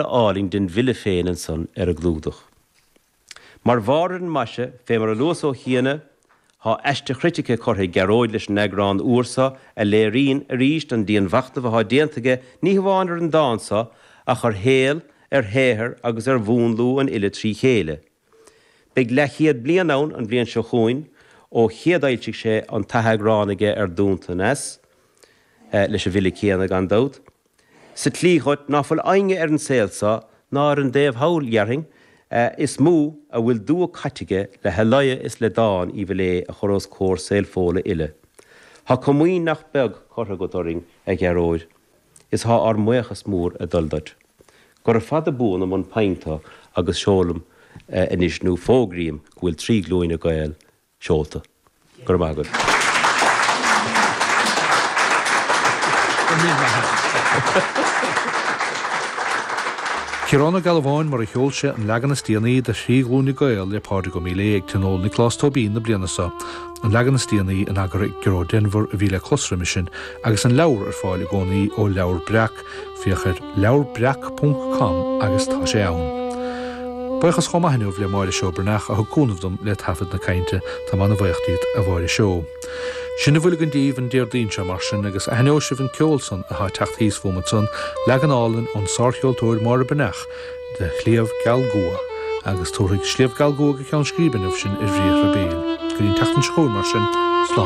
álainn den bhfile féin ansan ar an gclúdach. Mar bharr ar an maise, fé mar a luas ó chiana, thá aiste chritice curtha ag Gearóid leis an eagrán úr so a léiríonn, arís, an dianmhachnamh athá déanta aige ní hamháin ar an dán so ach ar shaol, ar shaothar agus ar mhúnlú an fhile trí chéile. Beidh leathchéad bliain ann an bhliain seo chugainn ó chéadfhoilsigh sé an t-atheagrán aige ar Dúnta an Eas, leis an bhfile céanna, gan dabht. Sa tslí dhuit ná fuil éinne ar an saol so, ná ar an dtaobh thall, dhéarfainn, is mó a bhfuil dua caite aige le halaya is le dán Uí Mhaoiléith a chur os comhair saol Fódhla uile. Thá comaoin nach beag curtha agat orainn, a Ghearóid, is thá ár mbuíochas mór ag dul duit. Gura fada buan i mbun pinn tu agus seolaim anois nó fógraím go bhfuil 3 Glúine Gael seolta. Go raibh maith agat. Ciarán Ó Gealbháin mar a sheol sé an leagan is déanaí de Thrí Ghlúine Gael le Pádraig Ó Maoiléith ag Tionól Nioclás Tóibín na bliana seo, an leagan is déanaí in eagar ag Gearóid Denvir a bhí le clos roimhe sin agus an leabhar ar fáil i gcónaí ó Leabhar Breac. Féach ar leabharbreac ponc com agus tá sé ann. Buíochas chomh maith inniu le Máire Seó Breathnach a thug cúnamh dom le taifead na cainte, táim ana-bhuíoch díot a Mháire Seó. Sin a bhfuil againn daoibh an Déardaoin seo mar sin agus aithneoidh sibh an ceol san atá ag teacht thíos fúm ansan, leagan álainn ón sárcheoltóir Máire Breathnach de Shliabh Geal Gua agus tabharfaidh Sliabh Geal Gua go ceann scríbe inniu sinn ar bhriathra béil. Go dtí an tseachtain seo chugainn mar sin.